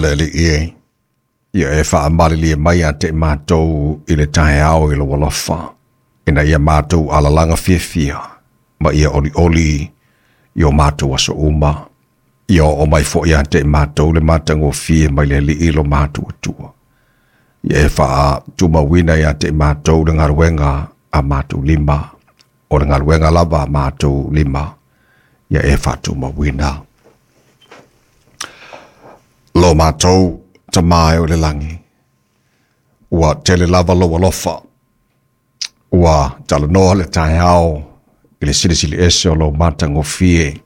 Le Alii e, ia e faamalilie mai ia te i matou i le taeao i lou alofa, ina ia matou alalaga fiafia ma ia olioli i o matou aso uma. Ia oo mai foi ia te i matou le matagofie mai le Alii lo matou Atua. Ia e faatumauina ia te i matou le galuega a matou lima, o le galuega lava a matou lima, ia e faatumauina. Lo matou Tama e o le lagi, ua tele lava lou alofa, ua talanoa le taeao i le silisili ese o lou matagofie,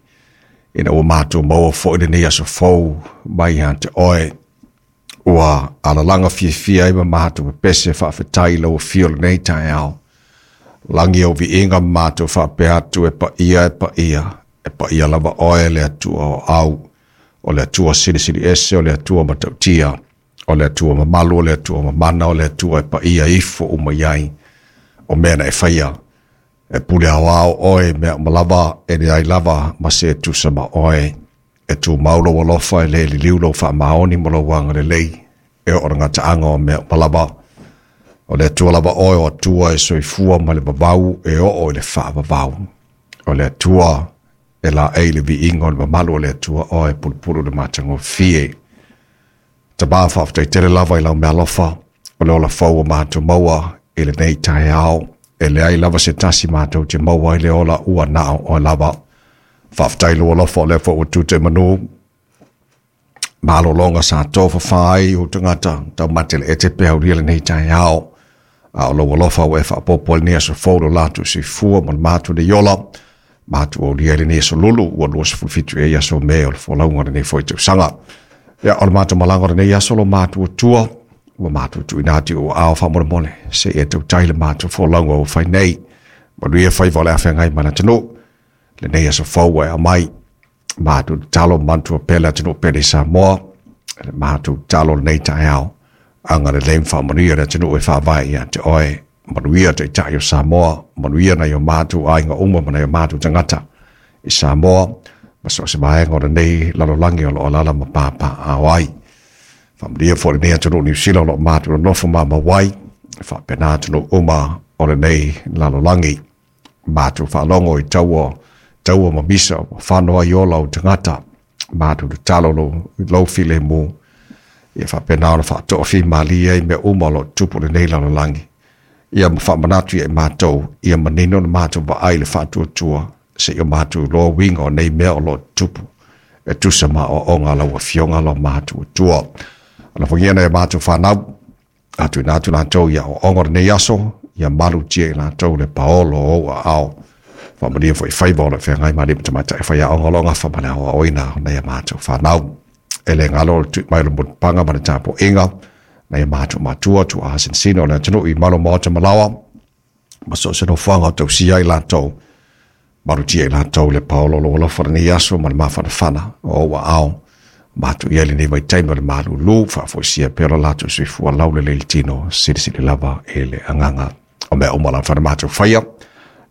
ina ua matou maua foi lenei aso fou mai ia te oe, ua alalaga fiafia ai ma matou pepese faafetai i lau afio i lenei taeao. Lagi ou viiga ma matou faapea atu e paia e paia, e paia lava oe le Atua o au, o le Atua silisili ese, o le Atua matautia, o le Atua mamalu, o le Atua mamana, o le Atua e paia ifo uma i ai, o mea na e faia. E pule aoao oe i mea uma lava, e leai lava ma se e tusa ma oe. E tumau lou alofa, e le liliu lou faamaoni ma lou agalelei, e oo i le gataaga o mea uma lava. O le Atua lava oe o Atua e soifua mai le vavau e oo i le faavavau. O le Atua e laei le viiga o le mamalu o le Atua oe e pulupulu i le matagofie. Tama, faafetai tele lava i lau meaalofa, o le ola fou ua matou maua i lenei taeao. E leai lava se tasi matou te maua ai le ola ua na o oe lava. Faafetai i lou alofa o lea foi ua tute i manu. Malologa sa tofafa ai ou tagata taumate le ete pe aulia lenei taeao. A o lou alofa ua e faaopoopo ai lenei aso fou lo latou soifua ma le matou nei ola. Matou aulia ai lenei aso lulu ua 27 ea i aso Me o le folauga o lenei foi tausaga. Ia, o le matou malaga o lenei aso lo matou Atua, ua matou tuuina atu i ou aao faamolemole, se i e tautai le matou folauga ua fai nei. Manuia faiva o le a feagai ma le atunuu. Lenei aso fou ua e aumai, matou tatalo manatua pea le atunuu pele i Samoa, le matou tatalo lenei taeao, agalelei ma faamanuia le atunuu e faavae ia te oe, manuia taitai o Samoa, manuia nai o matou aiga uma ma nai o matou tagata i Samoa, ma so o se vaega o lenei lalolagi o lo o alaala ma papaaao ai. Faamanuia foi lenei atunuu Niu Sila o lo o matou nonofo mamau ai, faapena atunuu uma o lenei lalolagi. Matou faalogo i taua, taua ma misa ua fano ai ola o tagata. Matou tatalo lou, lou filemu. Ia faapena ona faatoafimalie ai mea uma o lo o tupu i lenei lalolagi. Ia ma faamanatu ia i matou, ia manino le matou vaai i le faatuatua, seia matou iloa uiga o nei mea o lo o tupu, e tusa ma aoaoga a lau Afioga lo matou Atua. Alofagia nai a matou fanau, a tuuina atu latou i aoaoga o lenei aso, ia malutia i latou le paolo o ou aao. Faamanuia foi i faiva o lo o feagai ma alii ma tamaitai faiaoga o lo o gafa ma le aoaoina o nai a matou fanau. E le galo le tui mai o le mulipapaga ma le tapuaiga, nai a matou matua, tuaa sinosino o le atunuu i malu maota ma laoa, ma so o se nofoaga o tausia ai latou, malutia i latou le paolo o lou alofa lenei aso ma le mafanafana o ou aao. Matou i ai lenei vaitaimi o le malūlū, faafoisia pea lo latou soifua laulelei i le tino, silisili lava i le agaga. O mea uma lava na matou faia,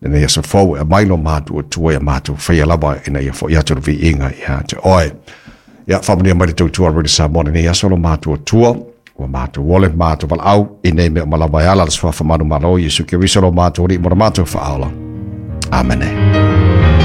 lenei aso fou e aumai lo matou Atua ia matou faia lava ina ia foi atu le viiga ia te oe. Ia, faamanuia mai le tautua a Radio Samoa lenei aso lo matou Atua, ua matou ole, matou valaau, i nei mea uma lava e ala le suafa manumalo o Iesu Keriso lo matou Alii mo le matou faaola. Amene.